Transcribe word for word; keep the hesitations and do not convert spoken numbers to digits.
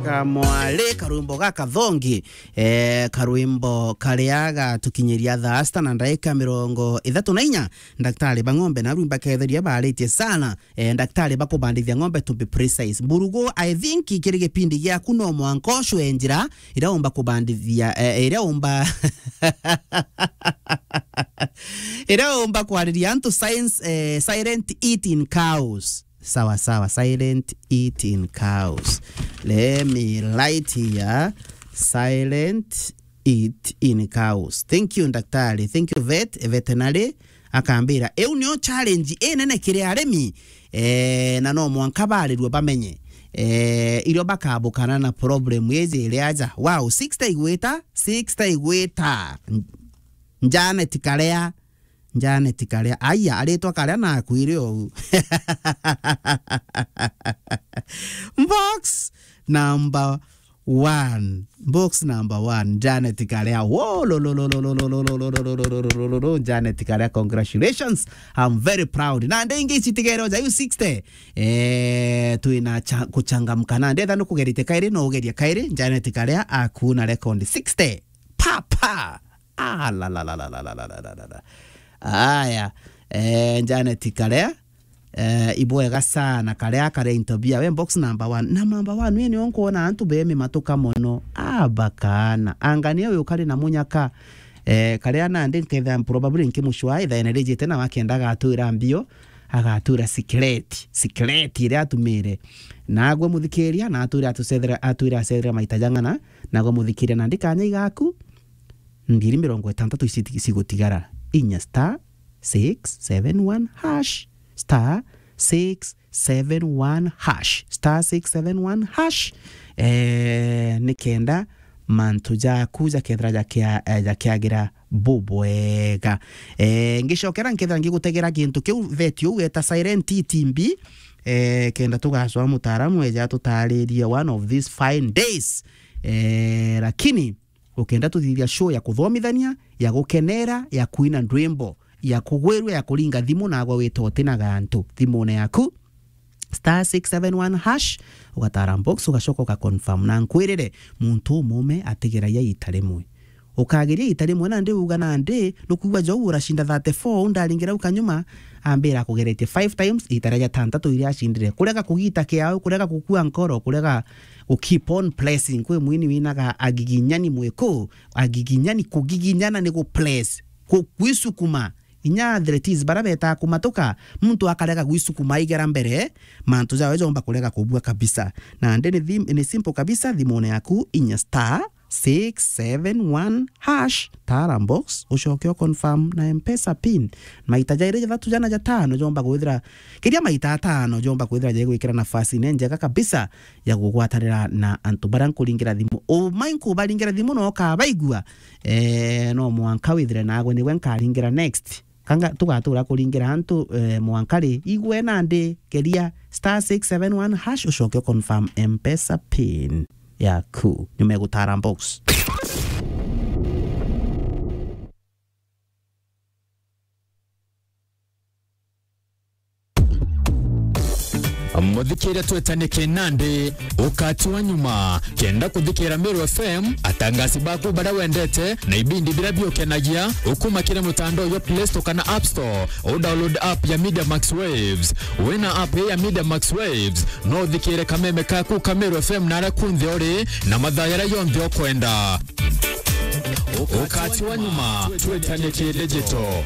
Kamwari, karwimbo ga kathongi, eh, karwimbo karia gatukinyiria thaa sita na ndaika mirongo ithatu na inya. Ndaktari ba ng'ombe naru mbaketheria baaritie sana. Eh, ndaktari ba kubandithia ng'ombe, to be precise. Mburugu, I think kiri gipindi giaku no mwanka ucwe njira iria umba kubandithia, eh, iria umba iria umba kwariria antu science, eh, silent eating cows. Sawa, sawa. Silent eating cows. Let me write here. Silent eating cows. Thank you, ndaktari. Thank you, vet, veterinary. Akambira, iu nio challenge inene kiri arimi. Eh, na no mwanka barirue bamenye. Eh, irio bakabukana na problem iji iri aja. Wow, sixty igwita, sixty igwita. Janet Karea. Janet Karea. Aya, aritwa Karea na akuire ou. Box number one. Box number one. Janet Karea. Wo, lo, lo, lo, Janet Karea, congratulations. I'm very proud. Na ndengi citigere oja yu sixty. Eh, twina cha-, kuchangamka. Na ndetha nukugerite kairi, no ugerie kairi. Janet Karea akuna record sixty. Pa, pa. Ah, la, la, la. Aya, eh, Janet Karea, eh, ibwega sana, Karea, Karea into bia. We box number one. Na number one, we nio nkwona antu bemi matuka mono. Ah, bakana. Anga ni uyu kari na munyaka. Eh, Karea nandi nketha probably nkimucwa, ithaene rijite na wakenda agatwira mbio, agatwira secret, secret iria atumire. Nagwe muthikiria, na atwire atucethera, atwire acethera maita jang'ana, nagwe muthikiria nandi kanya igaku. Ngiri mirongo itantatu ici cigutigara. Inya star six seven one hash, star six seven one hash, star six seven one hash. Eh, nikenda mantu jaku jakethira jakia-, eh, jakiagira bubwega. Eh, ngicokera nkethira ngigutegera kintu kiu veti uu weta Silent T T B, eh, kenda tugacwa mutaaramu eja atutaririe one of these fine days. Eh, lakini ukenda tuthithia show ya kuthomithania, ya gukenera, ya kuina ndwimbo, ya kugwirua, ya kuringa thimu, nagwe wita utina gantu thimune yaku, star six seven one hash, ugatara box, ugacoka ugaconfirm. Na nkwirire, muntu umume atigiragia ita rimwe. Ukageria ita rimwe, nandi uga nandi, nukwigua jou uracinda thirty-four, u ndaringira u kanyuma, ambira akugeretie five times, ita ria jatantatu iria acindire. Kurega kugita kiao, kurega gukua nkoro, kurega gu keep on pressing. Kwi mwini winaga agiginyani mwiku, agiginyani, kugiginyana ni gu press, ku-, gwisukuma. Inya athletes bara betaa kumatuka, muntu akarega gwisukuma aigera mbere, mantu jawe jomba kurega kubua kabisa. Nandi ni thim-, ni simple kabisa, thimune yaku inya star six seven one hash, tara box, ucoke u confirm na M-Pesa pin. Maita jairi, jathatu, jana, jatano, jomba kwithira, kiria maita atano, jomba kwithira jaigwikira nafasi ne njega kabisa ya kugwatanira na antu baria nkuringira thimu. Umai nkubaringira thimu na ukabaigua, eh, no mwanka withire nagwe niwe nkaringira next. Kanga tugatura kuringira antu, eh, mwanka ri, igwe nandi, keria star six seven one hash, ucoke u confirm M-Pesa pin yaku. Nyuma ya gutara box. Muthikiria, twetanie kinandi, ukati wa nyuma. Kenda kuthikira Meru F M, atangasi baku baria wendete, na ibindi biria biukenagia, ukuma kiri mutandao jwa Play Store kana App Store, u download app ya Media Max Waves. Wina app ii ya Media Max Waves, no uthikire kameme kaku ka Meru F M naria kunthe uri, na mathaa jaria jonthe ukwenda. Ukati wa nyuma, twetanie ki digital.